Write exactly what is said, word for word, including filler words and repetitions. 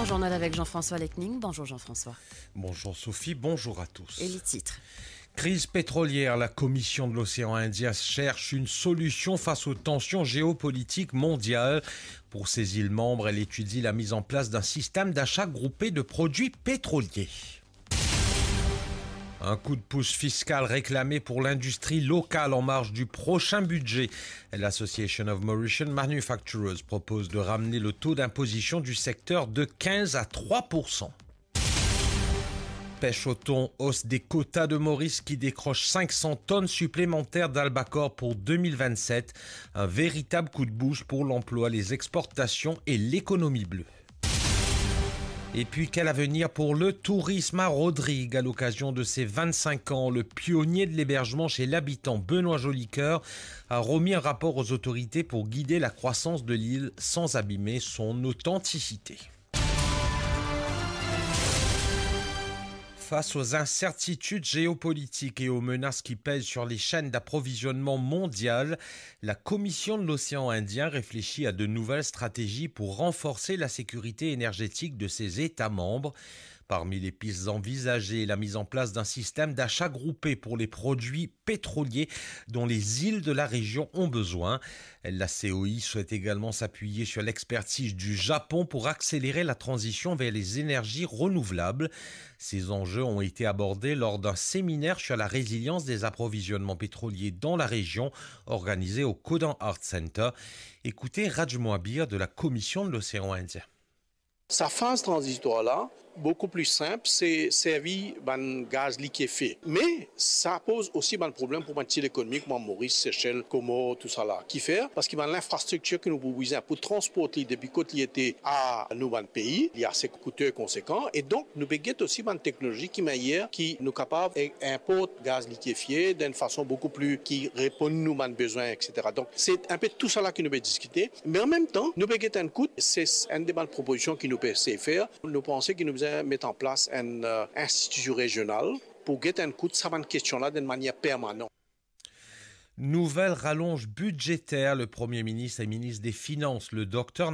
Journal avec Jean-François Lecning. Bonjour Jean-François. Bonjour Sophie, bonjour à tous. Et les titres. Crise pétrolière, la Commission de l'océan Indien cherche une solution face aux tensions géopolitiques mondiales. Pour ses îles membres, elle étudie la mise en place d'un système d'achat groupé de produits pétroliers. Un coup de pouce fiscal réclamé pour l'industrie locale en marge du prochain budget. L'Association of Mauritian Manufacturers propose de ramener le taux d'imposition du secteur de quinze à trois pour cent. Pêche au thon, hausse des quotas de Maurice qui décroche cinq cents tonnes supplémentaires d'albacores pour deux mille vingt-sept. Un véritable coup de boost pour l'emploi, les exportations et l'économie bleue. Et puis, quel avenir pour le tourisme à Rodrigues ? À l'occasion de ses vingt-cinq ans, le pionnier de l'hébergement chez l'habitant, Benoît Jolicoeur, a remis un rapport aux autorités pour guider la croissance de l'île sans abîmer son authenticité. Face aux incertitudes géopolitiques et aux menaces qui pèsent sur les chaînes d'approvisionnement mondiales, la Commission de l'océan Indien réfléchit à de nouvelles stratégies pour renforcer la sécurité énergétique de ses États membres. Parmi les pistes envisagées, la mise en place d'un système d'achat groupé pour les produits pétroliers dont les îles de la région ont besoin. La C O I souhaite également s'appuyer sur l'expertise du Japon pour accélérer la transition vers les énergies renouvelables. Ces enjeux ont été abordés lors d'un séminaire sur la résilience des approvisionnements pétroliers dans la région, organisé au Kodan Art Center. Écoutez Raj Mohabir de la Commission de l'océan Indien. Sa faz tranzitwar la, boukou pli sinp, se servi bann gaz likiefie. Me sa poz osi bann problem pou bann ti lekonomi kouma Moris, Sesel, Komor, tousala. Kifer? Parski bann linfrastriktir ki nou pou bizin pou transport li depi kot li ete a nou bann pei, li ase koute, konsekan. E donk, nou pe get osi bann teknolozi ki meyer, ki nou kapav e-, inport gaz likiefie dan enn fason boukou pli ki reponn nou bann bezwin, etsetera. Donk, se enpe tousala ki nou pe diskite. Me an mem tan, nou pe get enn kout, se enn de bann propozision ki nou pe sey fer. Nou panse ki nou bizin met an plas enn, eh, institision rezional pou get enn kout sa bann kestion la dan enn manier permanan. Nouvelle rallonge budgétaire, le Premier ministre et ministre des Finances, le Dr